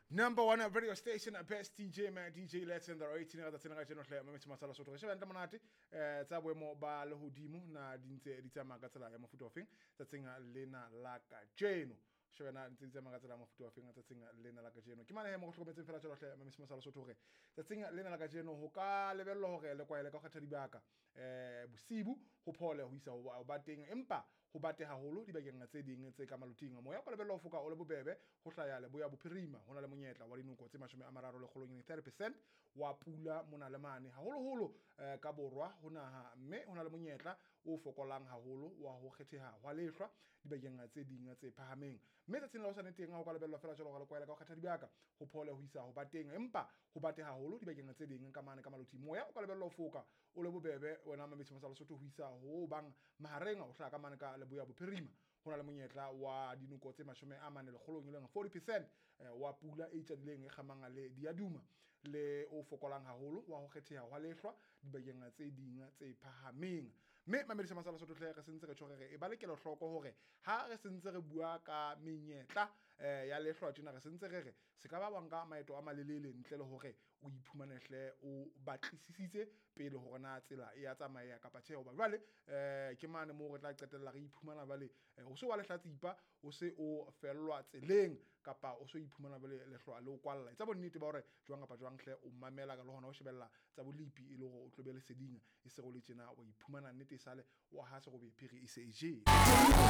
Number one radio station, best DJ man, DJ Let's the 18 ka tsena ka jeno hle mametse masala sotho re sheba ntle monate tsa boemo ba lehodimo na di ntse di tsamaya ka tsela ya mofuta ofeng tsatsing lena la kajeno. Shebana ntse di tsamaya ka tsela ya mofuta ofeng tsatsing lena la kajeno. Ke mane he mo go hlokometseng fela jalo hle mametse masala sotho hore tsatsing lena la kajeno ho ka lebellwa hore le kwaele ka ho kgetha dibaka bosibu ho phole ho isa ho ba teng, empa ho bate haholo dibakeng tse ding tse ka maloting. Moya o ka lebellwa ho foka o le bobebe ho hlaya leboya bophirima. Ho na le monyetla wa dinoko tse 30 30% wa pula mona le mane, haholoholo ka borwa ho naha, mme ho na le monyetla o fokolang haholo wa ho kgetheha hwa lehlwa dibakeng tse ding tse phahameng. Mme tsatsing la hosane teng ho ka lebellwa fela jwalo hore le kwaele ka ho kgetha dibaka ho phole ho isa ho ba teng, empa ho bate haholo dibakeng tse ding ka mane ka maloting. Moya o ka lebellwa ho foka o le bobebe wena mametse masala Sotho ho isa ho bang mahareng ho hlaha ka mane ka leboya bophirima. Ho na le monyetla wa dinoko tse 40 e leng 40% wa pula e itjadileng e kgamang le diaduma le o fokolang haholo wa ho kgetheha hwa lehlwa dibakeng tse ding tse phahameng. Mme mamedisa masala Sotho hle re sentse re tjho re e ba le kelohloko hore ha re sentse re bua ka menyetla ya lehlwa tjena, re sentse re re se ka ba wa nka maeto a malelele ntle le hore o iphumane hle o batlisisitse pele hore na tsela e ya tsamaya kapa tjhe. Hoba jwale ke mane moo re tla qetella re iphumana jwale o se wa lehlatsipa, o se o fellwa tseleng kapa o se o iphumana jwale lehlwa le o kwalla. Etsa bonnete ba hore jwang kapa jwang hle o mamela le hona ho shebella tsa bolepi e le hore o tlo be leseding, e se go le tjena wa iphumana nnete e sale wa ha serobe phiri e se e jele.